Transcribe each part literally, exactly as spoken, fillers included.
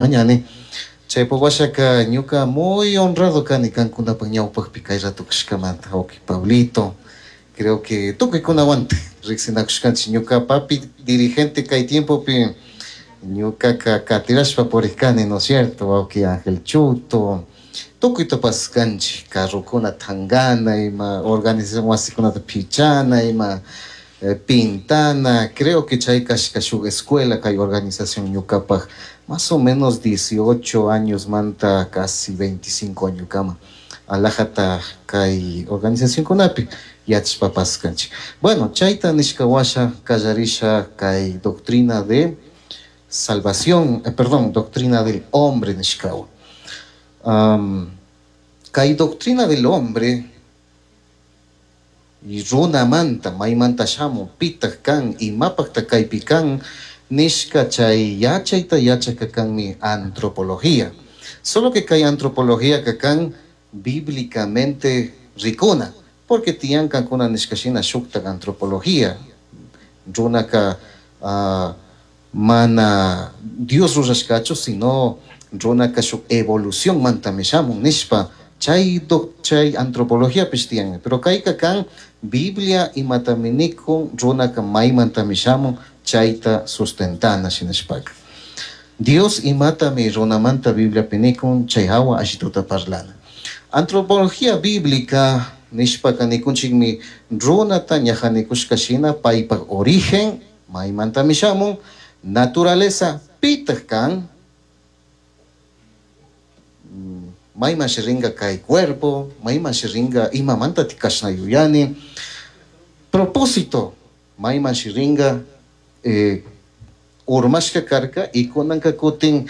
Mañani chaypaq washaka ñuka muy honrado kani kankunapaq ñawpaqpi kay rato kashkamanta wawqi Pablito. Creo que tukuykunawantaj riqsinakushkanchik. Ñuka papi dirigente kay tiempopi ñukaka katirashpa puriq kani, ¿no es cierto? Wawqi Ángel Chuto, tukuyta paskanchik, carrokuna tangana, ima organización wasikunata pichana, ima eh, pintana. Creo que chay kashka shuk escuela kay organización ñukapaq más o menos dieciocho años manta casi veinticinco años kama alajata kay organizacionkunapi yachashpa paskanchik. Bueno, chayta nishka washa kallarisha kay doctrina de salvación, eh, perdón, doctrina del hombre nishkawan. Um, kay doctrina del hombre y runamanta maymanta shamun, pitaq kan, imapaqta kaypi kan nishka chay yachayta yachaka kanmi antropología. Solo que kay antropología ka kan bíblicamente rikuna, porque tiyan kankuna nishka shina shuktak antropología. Runaka uh, mana Dios rurashkachu, sino runaka shuk evolución mantami shamun nishpa chay doc, chay antropología tiyan. Pero kayka kan Biblia imatami nikun runaka maymantami shamun chayta sustentana shinashpaka. Dios imatami runamanta Bibliapi nikun chay hawa ashituta parlana. Antropología bíblica nishpaka nikunchikmi runata ñaja nikushka shina paypak origen maymantami shamun, naturaleza pitaq kan, mayman ringa kay cuerpo, mayman ringa imamanta tikashna yuyani, propósito mayman ringa eh, urmashka karka y kunanka kutin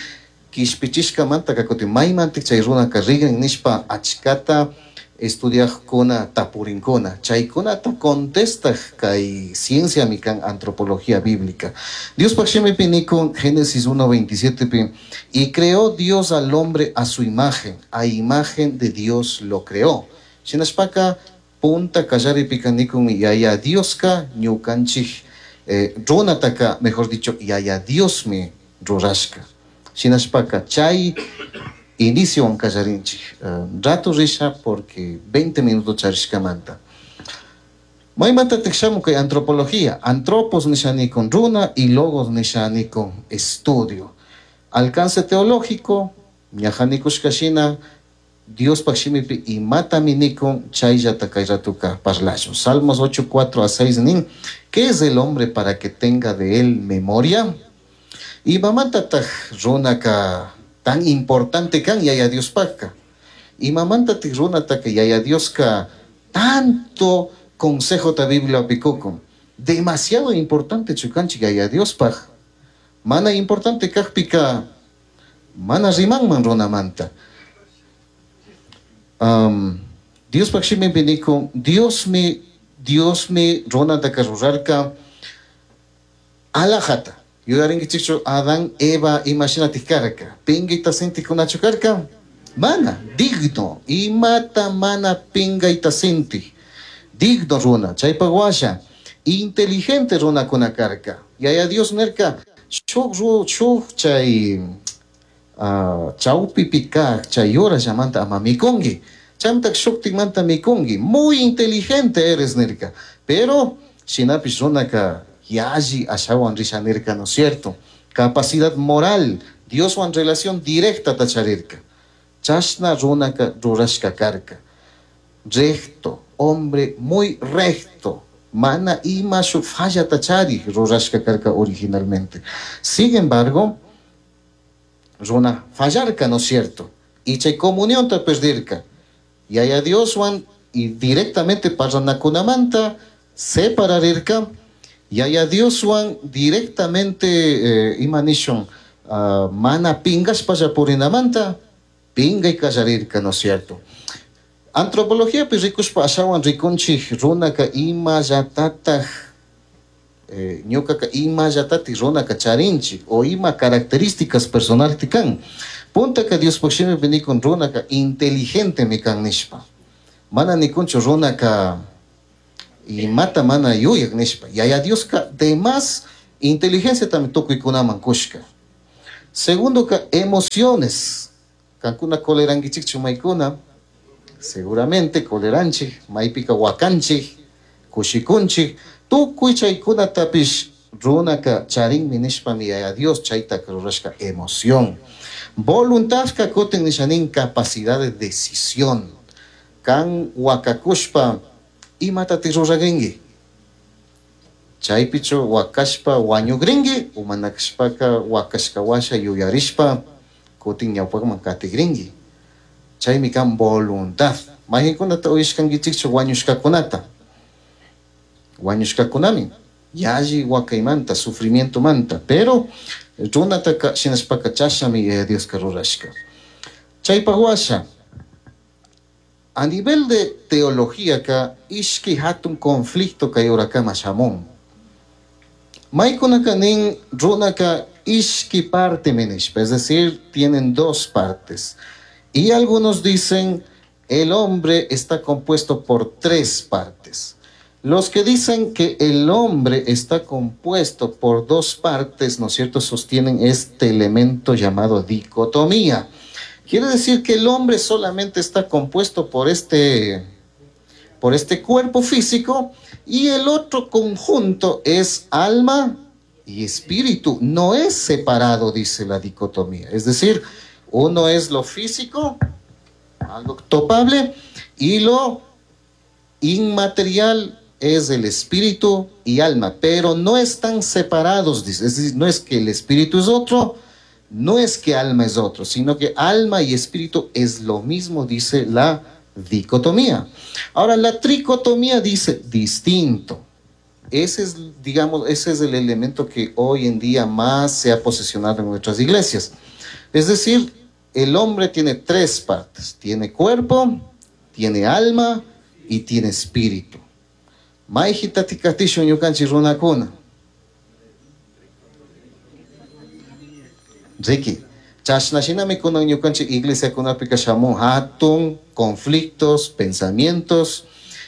kishpichishkamanta kutin maymantik chay runaka rigrin nishpa achkata estudiajkuna tapurinkuna chaykunata contestaq kay ciencia mi kan antropología bíblica. Diospaq shimipi nikun Génesis uno veintisiete pi, y creó Dios al hombre a su imagen, a imagen de Dios lo creó. Shinashpaka punta kallaripika nikun yaya Dioska ñukanchik eh, runataka, mejor dicho, yaya Diosmi rurashka. Shinashpaka chay inicio kallarinchik. Uh, rato risha porque veinte minutos charishkamanta. Maymanta tikshamu kay antropología. Antropos nishani con runa y logos nishani con estudio. Alcance teológico, ñajanikushka shina, Diospaq shimipi imatami nikun chayllata kay ratuka parlashun. Salmos ocho, cuatro a seis nin, ¿qué es el hombre para que tenga de él memoria? Imamantataq runaka tan importante kan yaya Diospaqka. Imamantataq runataka yaya Dioska tanto consejo ta Biblia pikukun. Demasiado importante chukanchik yaya Diospaq. Mana importante kaqpika mana rimanman runamanta. Um, Diospaq shimipi nikun, Diosmi, Diosmi runataka rurarka alajata. Yuyarinkichikchu Adán, Eva imashinatik karka. Pingayta sintikunachu karka? Mana, digno. Imata mana pingayta sintik. Digno runa, chaypaq washa. Inteligente runakuna karka. Yaya Dios nerka, shuk ru, shuk chay, uh, chawpipi kaq, chay yurallamanta ama mikunki. Chaymantaqa shuktikmanta mikunki. Muy inteligente eres nerka. Pero shinapish runaka yalli ashawan risha nirka, ¿no es cierto? Capacidad moral, Dioswan relación directa tacharirka. Chashna runaka rurashka karka. Recto, hombre muy recto. Mana ima shuk falla tachari rurashka karka originalmente. Sin embargo, runa fallarka, ¿no es cierto? Y chay comunión ta perdirka. Y allá Dioswan y directamente parranakunamanta separarirka. Y allá Dioswan directamente eh, imanishon uh, mana pingas pallapurinamanta pinga y kallarirka, ¿no es cierto? Antropología pues rikushpa ashawan rikunchik runaka ima llatataj eh, ñukaka ima llatatik runaka charinchik o ima características personal tikan. Puntaka Diospaq shimipi nikun runaka inteligente mikan nishpa. Mana nikunchu runaka imata mana yuyak nishpa. Yaya Dioska de más inteligencia también tukuykunaman kushka. Segundo ka emociones. Kankuna colerankichikchu maykuna? Seguramente coleranchik, maypika wakanchik, kushikunchik, tukuy chaykunatapish runaka charinmi nishpami Yaya Dios chaytaka rurashka emoción. Voluntadka kutin nishanin capacidad de decisión. Kan wakakushpa imatati ruragrinki? Chaypichu wakashpa wañugrinki o mana kashpaka wakashka washa yuyarishpa kutin ñawpakman katigrinki. Chaymi kan voluntad. Mayqinkunata uyashkankichikchu wañushkakunata? Wañushkakunami yalli wakaymanta, sufrimientomanta, pero runataka shinashpaka chashnami Yaya Dioska rurashka. Chaypak washa, a nivel de teología ka ishki hatun conflicto kay urakama shamun. Maykunaka nin runaka ishki parte nishpa, es decir, tienen dos partes. Y algunos dicen el hombre está compuesto por tres partes. Los que dicen que el hombre está compuesto por dos partes, ¿no es cierto?, sostienen este elemento llamado dicotomía. Quiere decir que el hombre solamente está compuesto por este, por este cuerpo físico y el otro conjunto es alma y espíritu. No es separado, dice la dicotomía. Es decir, uno es lo físico, algo topable, y lo inmaterial es el espíritu y alma, pero no están separados, dice. Es decir, no es que el espíritu es otro, no es que alma es otro, sino que alma y espíritu es lo mismo, dice la dicotomía. Ahora, la tricotomía dice distinto. Ese es, digamos, ese es el elemento que hoy en día más se ha posicionado en nuestras iglesias. Es decir, el hombre tiene tres partes. Tiene cuerpo, tiene alma y tiene espíritu. Mayhitatik katishun ñukanchik runakuna. Riki, chashna shinami kunan ñukanchik iglesiakunapika shamun hatun conflictos, pensamientos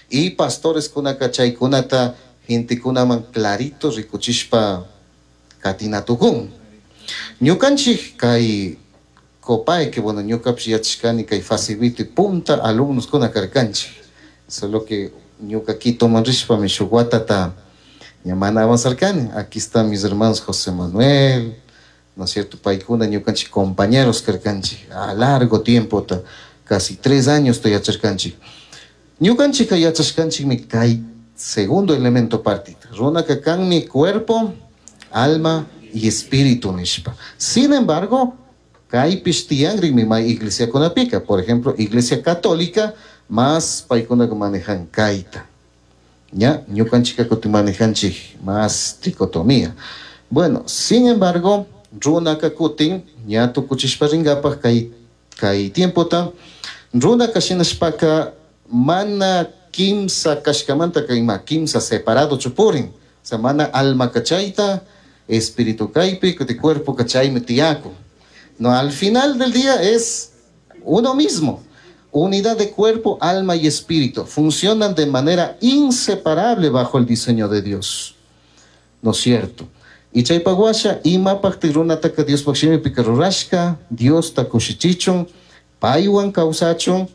y pastores kunaka chaykunata gentekunaman clarito rikuchishpa katinatukun. Ñukanchik kay Copay, que bueno, ñukapish yachashkani kay Facilito punta alumnos kuna karkanchik. Solo que ñuka Quitoman rishpami shuk watata ña mana avanzarkani. Aquí están mis hermanos José Manuel, ¿no es cierto? Paykuna ñukanchik compañeros karkanchik a largo tiempo, ta, casi tres años ta yacharkanchik. Ñukanchika yachashkanchikmi kay segundo elemento partita. Runaka kanmi cuerpo, alma y espíritu nishpa. Sin embargo, kaypish tiyanrinmi may iglesiakunapika. Por ejemplo, iglesia católica más paykunaka manejan kayta. ¿Ya? Ñukanchika kutin manejanchik más tricotomía. Bueno, sin embargo, runaka kutin ña tukuchishpa rinkapak kay, kay tiempota, runaka shinashpaka mana kimsa kashkamanta kayma kimsa separado chupurin. O sea, mana alma kachayta, espíritu kaypi, kuti cuerpo kachaymi tiyaku. No, al final del día es uno mismo. Unidad de cuerpo, alma y espíritu funcionan de manera inseparable bajo el diseño de Dios. ¿No es cierto? Y chaypak washa, imapakti runataka Diospaj shimipika rurashka, Diosta kushichichun, paywan kawsachun,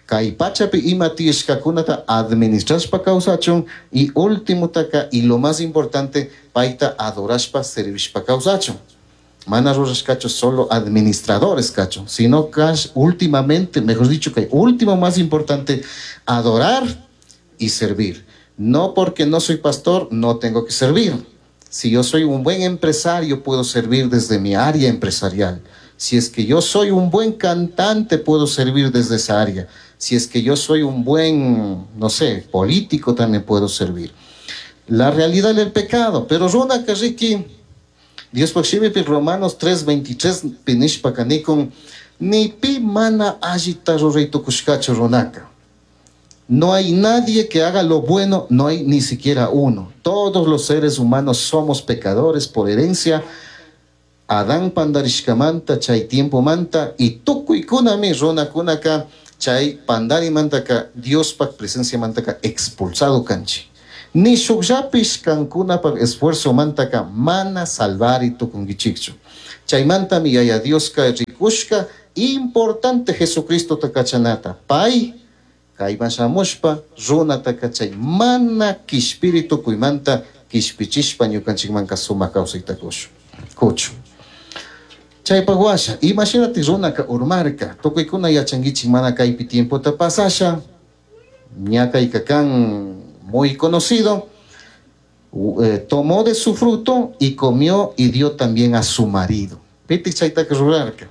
kay pachapi ima tiyashkakunata administrashpa kawsachun, y últimotaka, y lo más importante, payta adorashpa, servishpa kawsachun. Mana rurashkachu solo administradores, cacho, sino que últimamente, mejor dicho, que último más importante, adorar y servir. No porque no soy pastor, no tengo que servir. Si yo soy un buen empresario, puedo servir desde mi área empresarial. Si es que yo soy un buen cantante, puedo servir desde esa área. Si es que yo soy un buen, no sé, político, también puedo servir. La realidad del pecado. Pero runa karriki, Dios shimipi Romanos tres veintitrés pinishpa kanikun, ni pi mana allita ruray tukushkachu runaka. No hay nadie que haga lo bueno, no hay ni siquiera uno. Todos los seres humanos somos pecadores por herencia. Adán pandarishkamanta, chay tiempo manta, y tukuykunami runakunaka, chay pandarimantaka, Diospak presencia mantaka expulsado kanchi. Ni shukllapish kankunapaj esfuerzomantaka mana salvari tukunkichikchu. Chaymantami Yaya Dioska rikushka importante Jesucristota kachanata. Pay kayman shamushpa runata kachay mana kishpiri tukuymanta kishpichishpa ñukanchikmanka sumak kawsayta kushun kuchun. Chaypaq washa, imashinatik runaka urmarka, tukuykuna yachankichik mana kaypi tiempota pasasha, ña kayka kan muy conocido, eh, tomó de su fruto y comió y dio también a su marido. Pitik chaytaka rurarka.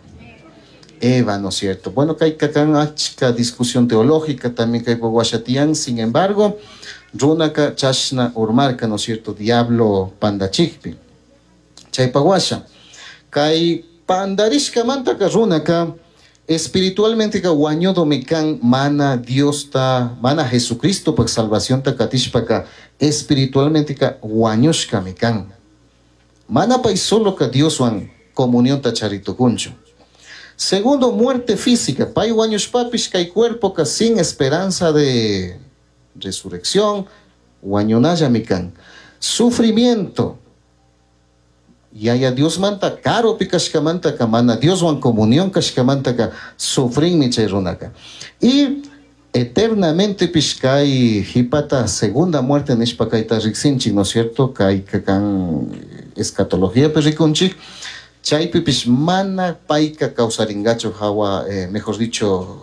Eva, ¿no es cierto? Bueno, kayka kan achka discusión teológica también kaypa washatiyan, sin embargo, runaka chashna urmarka, ¿no es cierto? Diablo pandachikpi. Chaypa washa, kay pandarishkamantaka runaka espiritualmente ka wañudomi kan mana Diosta, mana Jesucristo pak salvacionta katishpaka espiritualmente ka wañushkami kan. Mana pay solo ka Dioswan comunionta charitukunchu. Segundo, muerte física. Pay wañushpapish kay cuerpo ka sin esperanza de resurrección, wañunallami kan. Sufrimiento. Yaya Diosmanta karupi kashkamantaka mana Dioswan comunión kashkamantaka sufrinmi chay runaka. Y eternamente pish kay hipata segunda muerte nishpa kayta riksinchik, ¿no es cierto? Kay kan escatología rikunchik. Chaypi pish mana payka kawsaringachu hawa, eh, mejor dicho,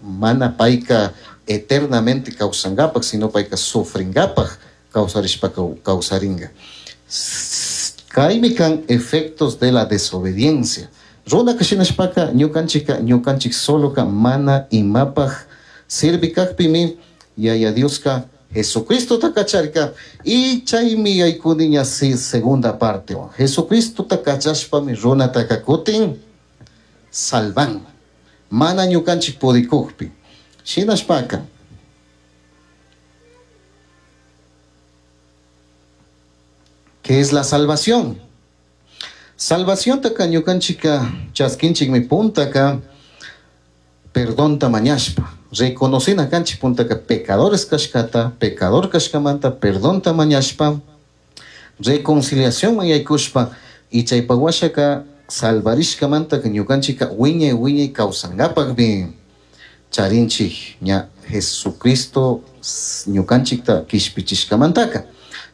mana payka eternamente kawsangapak, sino payka sufringapak kawsarishpa kawsaringa. Kaymi kan efectos de la desobediencia. Runaka shinashpaka ñukanchika ñukanchik soloka mana imapaj sirvi kakpimi Yaya Dioska Jesucristota kacharka y chaymi yaykuni ña segunda parte. Jesucristota kachashpami runataka kutin salvan. Mana ñukanchik pudikukpi. Shinashpaka ¿qué es la salvación? Salvación taka ñukanchika chaskinchikmi puntaka perdonta mañashpa. Reconocina kanchik puntaka pecadores kashkata, pecador kashkamanta perdonta mañashpa, reconciliación mañaykushpa y chaypa washaka salvarishkamanta ñukanchika wiñay wiñay kawsankapakmi charinchik ña Jesucristo ñukanchikta kishpichishkamantaka.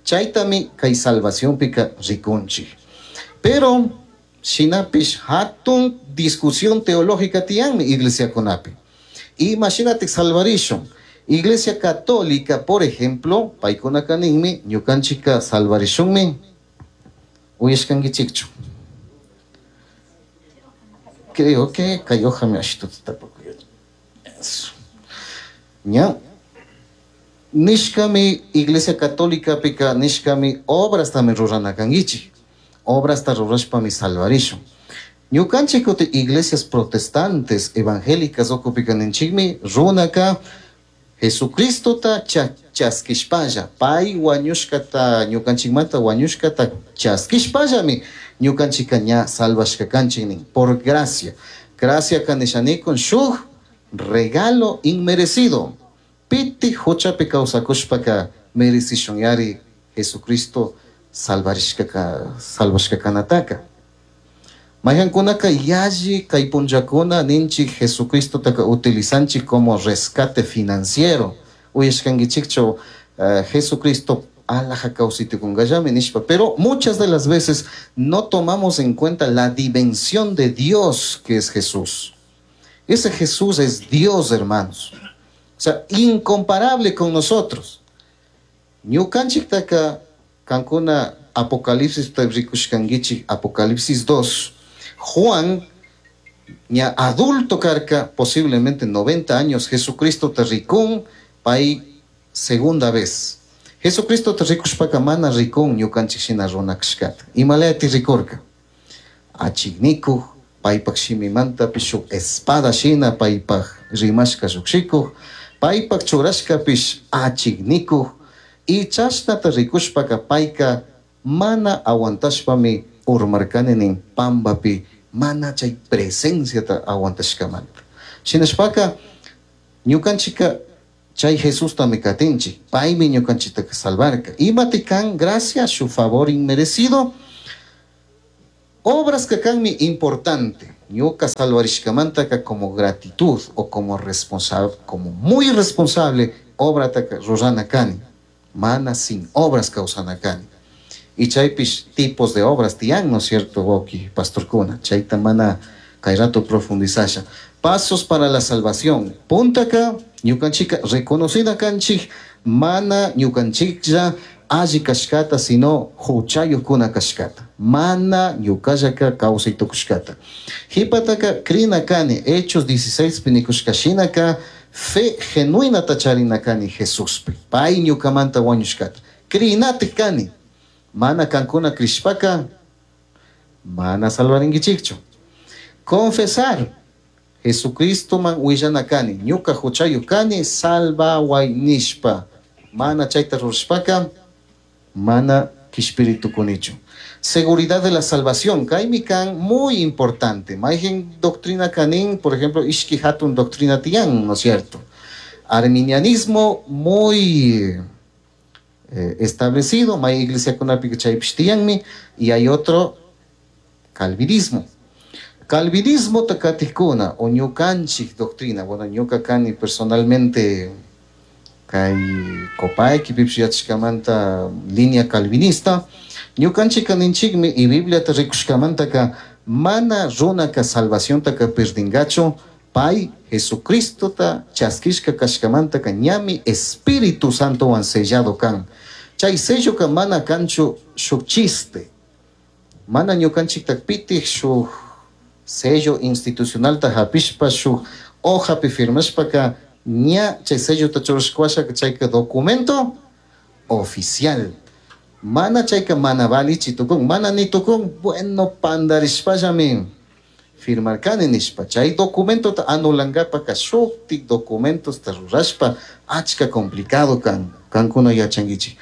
Chaytami kay salvacionpika rikunchik. Pero shinapish hatun discusión teológica tiyanmi iglesiakunapi. Imagínate salvarishun. Iglesia Católica, por ejemplo, paykunaka ninmi ñukanchika salvarishunmi uyashkankichikchu. Creo que kay hojami ashituta tapukuy. Eso. Ña. Nishkami Iglesia Católica pika nishkami obrastami rurana kankichik. Obrasta rurashpami salvarishun. Ñukanchik kuti iglesias protestantes evangélicas ukupika ninchikmi runaka Jesucristota chaskishpalla pay wañushkata ñukanchikmanta wañushkata chaskishpallami ñukanchika ña salvashka kanchik nin por gracia. Gracia kanishanikun shuk regalo inmerecido. Piti huchapi kawsakushpaka merecishun yari Jesucristo salvarishkaka salvashka kanataka. Mayhankunaka yalli kay punllakuna ninchik Jesucristotaka utilizanchik como rescate financiero. Uyashkankichikchu uh, Jesucristo alaja kawsaytukunkallami nishpa. Pero muchas de las veces no tomamos en cuenta la dimensión de Dios que es Jesús. Ese Jesús es Dios, hermanos. O sea, incomparable con nosotros. Ñukanchiktaka kankuna Apocalipsis rikushkankichik, Apocalipsis dos. Juan, ña adulto karka, posiblemente noventa años, Jesucristo te rikun, pay segunda vez. Jesucristo te rikushpaka mana rikun ñukanchik shina runa kashkata. Imalayati rikurka. Achiknikuj, paypak shimimantapish shuk espada shina paypak rimashka llukshikuj, paypak churashkapish achiknikuj, y chashnata rikushpaka payka mana aguantashpami urmarkani nin pambapi mana chay presenciata aguantashkamanta. Shinashpaka ñukanchika Chay Jesustami katinchik, paymi ñukanchiktaka salvarka. Imati kan gracia, su favor inmerecido. Obras que kanmi importante. Ñuka salvarishkamantaka como gratitud o como responsable, como muy responsable, obra taka rurana kani. Mana sin obras kawsana kani. Y chaypish tipos de obras tiyan, ¿no es cierto, wawki, pastorkuna? Chayta mana kay rato profundizasha. Pasos para la salvación. Puntaka, ñukanchika reconocida kanchik, mana ñukanchiklla alli kashkata, sino huchayuqkuna kashkata. Mana ñukallaka kawsay tukushkata. Hipataka krina kani, Hechos dieciséis pinikushkashinaka, fe genuinata charina kani Jesuspi. Pay ñukamanta wañushkata. Krinatik kani. Mana kankuna krishpaka, mana salvarinkichikchu. Confesar. Jesucristo man willana kani, ñuka huchayuq kani, salvaway nishpa. Mana chayta rurashpaka, mana kishpiritukunichu. Seguridad de la salvación, kaymi kan muy importante. Mayqin doctrina kanin, por ejemplo, ishki hatun doctrina tiyan, ¿no es cierto? Arminianismo muy, eh, establecido, may iglesia kunapi chaypish tiyanmi, y hay otro calvinismo. Calvinismo takatikuna o ñukanchik doctrina, bueno, ñuka kani personalmente kay Copaiqui pipish yachashkamanta línea calvinista, ñukanchik kaninchikmi y Bibliata rikushkamantaka mana runaka salvaciontaka perdingachu, pay Jesucristota chaskishka kashkamantaka ñami Espíritu Santowan sellado kan. Chay selloka mana kanchu shuk chiste, mana ñukanchikta pitij shuk sello institucionalta hapishpa shuk hojapi firmashpaka ña chay sellota churashka chayka documento oficial. Mana chayka mana valichi tukun, mana ni tukun, bueno pandarishpallami firmarkani nishpa. Chay documentota anulankapaka shuktik documentos ta rurashpa achka complicado kan, kankuna yachankichik.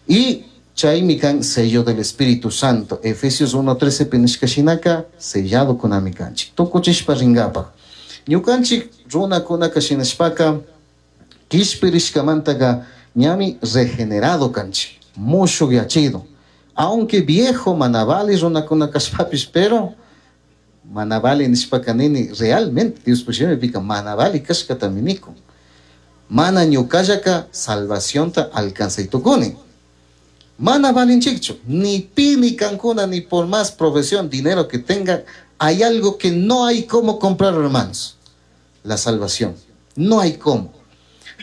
Y chaymi kan sello del Espíritu Santo. Efesios uno trece pinishka shinaka sellado kunami kanchik. Tukuchishpa ringapak. Ñukanchik runakunaka shinashpaka kishpirishkamantaka ñami regenerado kanchik, mushuqyachido. Aunque viejo manavali runakuna kashpapish, pero manavali nishpaka nini realmente Dios pushimi manavali kashkatami nikun. Mana ñukallaka salvacionta alcanzaytukuni. Mana valinchikchu, ni pi ni kankuna, ni por más profesión, dinero que tenga, hay algo que no hay cómo comprar, hermanos. La salvación. No hay cómo.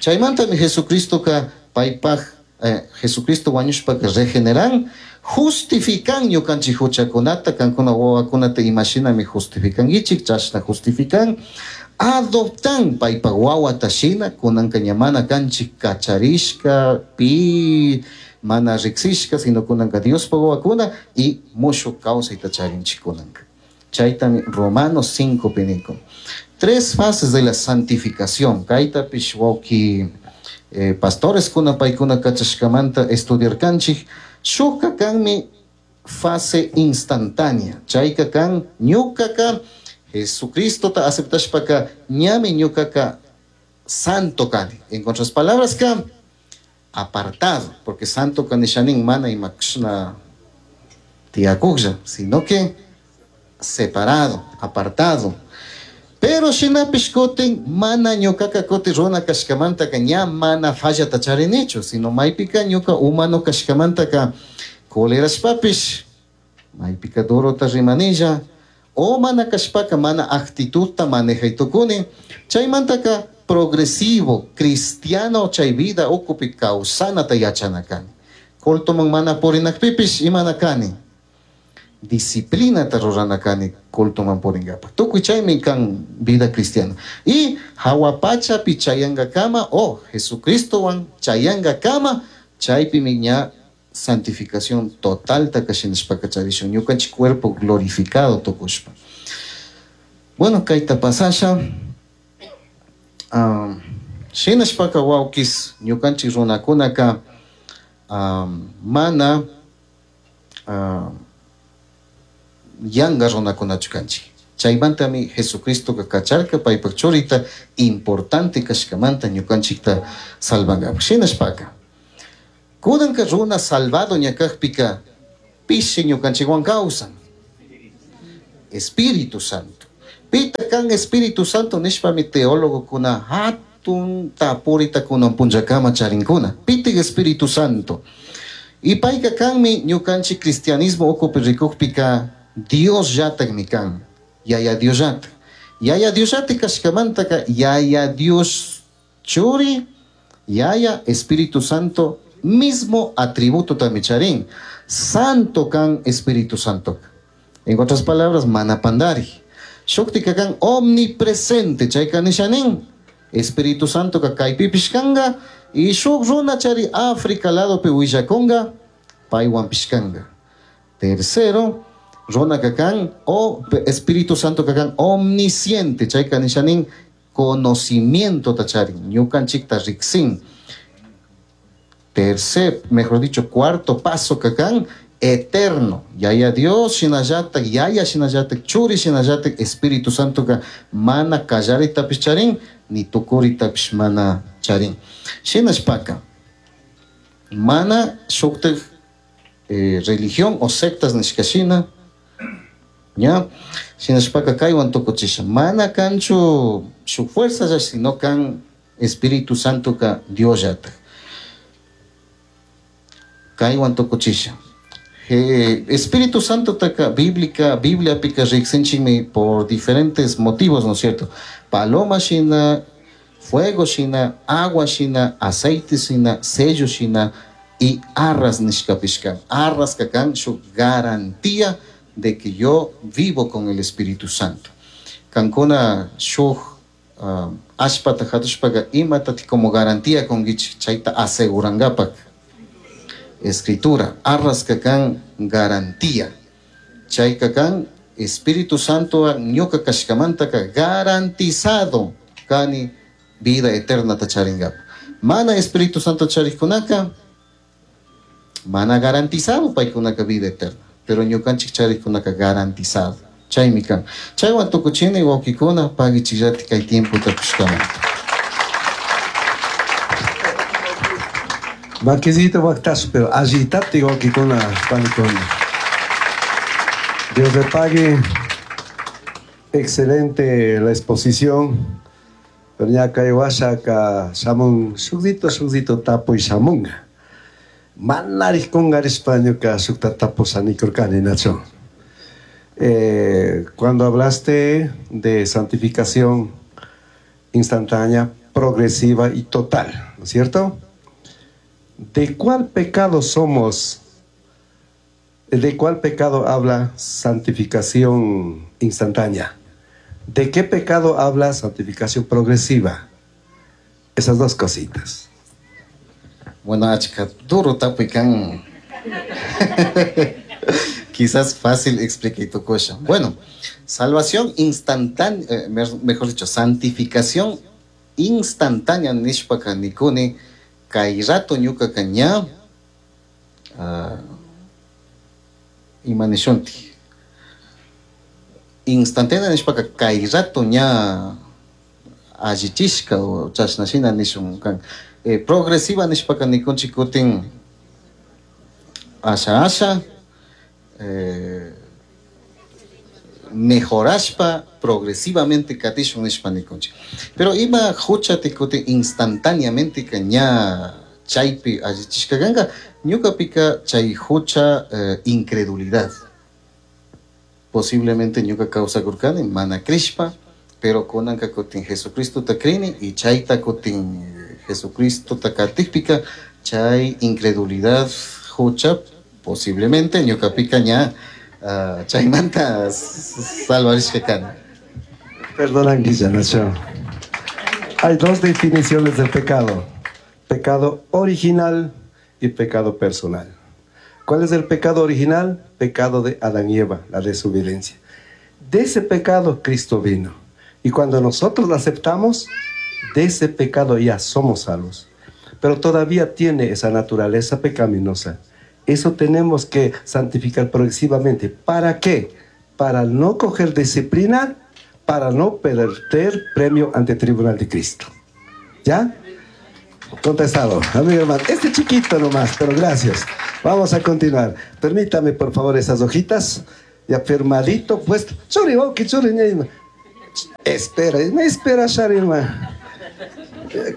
Chaymanta mi Jesucristo ka paypaj, eh, Jesucristo wañushpa ka regeneran, justifican ñukanchik huchakunata, kankuna wawakunata imashinami justificankichik, chashna justifican, adoptan paypaj wawata shina, kunanka ña mana kanchik kacharishka, pi mana riksishka, sino kunanka Diospaj wawakuna y mushuq kawsayta charinchik kunanka. Chaytami Romanos cinco pinikun. Tres fases de la santificación. Kaytapish wawki, eh, pastores kuna paykuna kachashkamanta estudiarkanchik. Shukka kanmi fase instantánea. Chayka kan ñukaka Jesucristo ta aceptashpaka ñami ñukaka santo kani. En otras palabras ka apartado, porque santo kanishanin mana imakshna tiyakuqlla, sino que separado, apartado. Pero shinapish kutin mana ñukaka kutin runa kashkamantaka ña mana fallata charinichu, sino maypika ñuka humano kashkamantaka colerashpapish maypika durota rimanilla, o mana kashpaka mana actitudta manejaytukuni, chaymantaka progresivo, cristiano chay vida ukupi kawsanata yachana kani. Cultoman mana purinakpipish imana kani. Disciplinata rurana kani cultoman purinkapa. Tukuy chaymi kan vida cristiana. Y hawa pachapi chayankakama o Jesucristowan chayankakama chaypimi ña santificación total takashinashpaka charishun ñukanchik cuerpo glorificado tukushpa. Bueno, kayta pasasha. Um, shinashpaka wawkis ñukanchik runakunaka, um, mana, um, yanka runakunachu kanchik. Chaymantami Jesucristoka kacharka paypak churita importante kashkamanta ñukanchikta salvankapak. Shinashpaka kunanka runa salvado ña kakpika pishi ñukanchikwan kawsan. Espíritu Santo. Pita kan Espíritu Santo nishpami teólogokuna hatun tapurita kunan punllakama charinkuna. Pitik Espíritu Santo. Y payka kanmi ñukanchik cristianismo ukupi rikukpika Dios llatakmi kan. Yaya Dios llatak. Yaya Dios llatak kashkamantaka Yaya Dios churi, Yaya Espíritu Santo mismo atributo tami charin. Santo kan Espíritu Santo. En otras palabras, mana pandari. Shuktika kan omnipresente, chayka nishanin. Espíritu Santo ka kaypipish kanga y shuk runa chari África ladopi willakunga, paywanpish kanga. Tercero, runa ka kan o Espíritu Santo ka kan omnisciente, chayka nishanin conocimiento ta charin, ñukanchikta riksin. Tercer, mejor dicho, cuarto paso ka kan eterno. Yaya Dios shinallatak, Yaya shinallatak, Churi shinallatak, Espíritu Santo ka mana kallaritapish charin, ni tukuritapish mana charin. Shinashpaka, mana shuktak eh, religión o sectas nishka shina, ña, shinashpaka kaywan tukuchisha. Mana kanchu shuk fuerza ya, sino kan Espíritu Santo ka Dios llatak. Kaywan tukuchisha. Eh, Espíritu Santo taka bíblica, Biblia pika riksinchikmi por diferentes motivos, ¿no es cierto? Paloma shina, fuego shina, agua shina, aceite shina, sello shina y arras nishkapishka. Arras kakan shuk garantía de que yo vivo con el Espíritu Santo. Kankuna shuk uh, ashpata hatushpaka imatati como garantía con chayta asegurangapak. Escritura, arras kakan garantía. Chay kakan Espíritu Santo ñuka kashkamantaka garantizado kani vida eterna tacharingap. Mana Espíritu Santo charikkunaka mana garantizado paykunaka vida eterna, pero ñukanchik charikkunaka garantizado. Chaymi kan. Chaywan tukuchini wawkikuna pagichillati kay tiempo tapushkamanta. Maquisito Bactazo, pero agitate wawkikuna panikuna. Dios le pague. Excelente la exposición. Pero ya kay washa ka shamun shukdito shukdito tapo y shamunga. Manarij kungarispa ñuka shukta tapo sanikurkani, Nacho. Eh, cuando hablaste de santificación instantánea, progresiva y total, ¿no es cierto? ¿De cuál pecado somos? ¿De cuál pecado habla santificación instantánea? ¿De qué pecado habla santificación progresiva? Esas dos cositas. Bueno, achka, duro tapuy kan. Quizás fácil explique tu cosa. Bueno, salvación instantánea, eh, mejor dicho, santificación instantánea nishpaka nikuni kay rato ñuka ña uh, ima nishunti. Instantánea nishpaka kay rato ña allichishka o chashna shina nishun kan. Eh, progresiva nishpaka nikunchik kutin asha asha eh, mejorashpa progresivamente katishun nishpa nikunchik. Pero ima hucha tikutin instantáneamente ka ña chaypi allichishka kanka ñukapika chay hucha eh, incredulidad. Posiblemente ñuka kawsakurkani mana krishpa, pero kunanka kutin Jesucristo ta krini y chayta kutin Jesucristo ta katikpika chay incredulidad hucha posiblemente ñukapika ña uh, chaymanta salvarishka kani. Perdona, Nacho. Hay dos definiciones del pecado: pecado original y pecado personal. ¿Cuál es el pecado original? Pecado de Adán y Eva, la desobediencia. De ese pecado Cristo vino. Y cuando nosotros lo aceptamos, de ese pecado ya somos salvos. Pero todavía tiene esa naturaleza pecaminosa. Eso tenemos que santificar progresivamente. ¿Para qué? Para no coger disciplina, para no perder premio ante el tribunal de Cristo. ¿Ya? Contestado, amigo hermano. Este chiquito nomás, pero gracias. Vamos a continuar. Permítame, por favor, esas hojitas. Ya firmadito, pues. Espera, me espera, Sharima.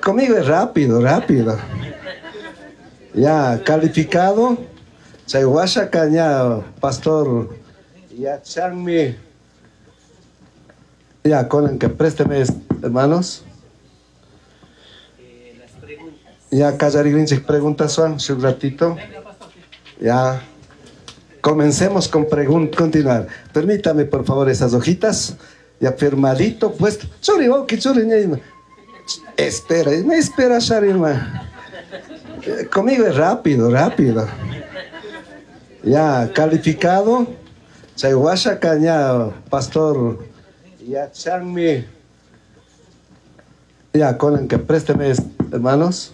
Conmigo es rápido, rápido. Ya, calificado. Chayhuasha caña, pastor. Ya, chanmi. Ya, con que présteme, hermanos. Ya, Callarigrinchik preguntas, Juan, un ratito. Ya. Comencemos con preguntas. Continuar. Permítame, por favor, esas hojitas. Ya firmadito, pues. Espera, me espera, Sharima. Conmigo es rápido, rápido. Ya, calificado. Chayhuasha caña, pastor. Ya, chanmi. Ya, con que présteme, hermanos.